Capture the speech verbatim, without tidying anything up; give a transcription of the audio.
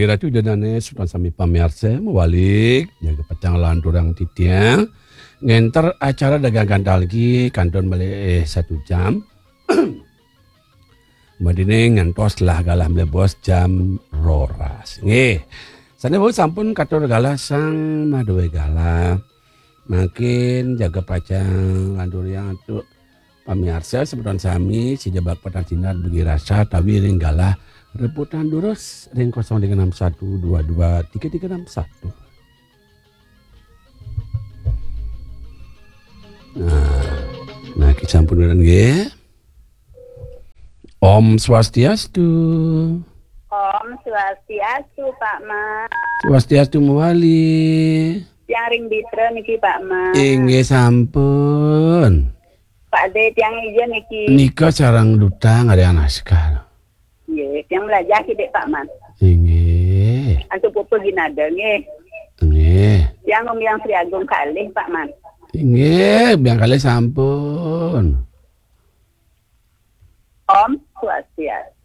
Ratu Ida Dané, semeton sami pamiarsa, mawali jaga pacang lanturang titiang. Ngénter acara Dagang Gantal niki kantun malih, eh, satu jam. Madiné ngantos lah galah mlebos jam roras. Nggih. Sané wau sampun katur galah sang madué galah. Mangkin jaga pacang lanturang antuk pamiarsa semeton sami, sida bak petang sinar bagi rasa tawi ring galah rebutan durus ring kosong tiga enam satu dua dua tiga tiga enam satu. Nah, nah, kita sampun nggih. Om Swastiastu. Om Swastiastu, Pak Man. Swastiastu mawali. Tiang ring Bitra niki, Pak Man. Inggih sampun. Pak Dé, tiang ija niki. Nika sareng duta ngarya naskah. Nggih, tiang mlajah kidik, Pak Man. Inggih. Antuk pupuh ginada, nggih. Nggih. Tiang ngombiang Sri Agung kalih, Pak Man. Inggih, biang kalih sampun. Om Swastiastu.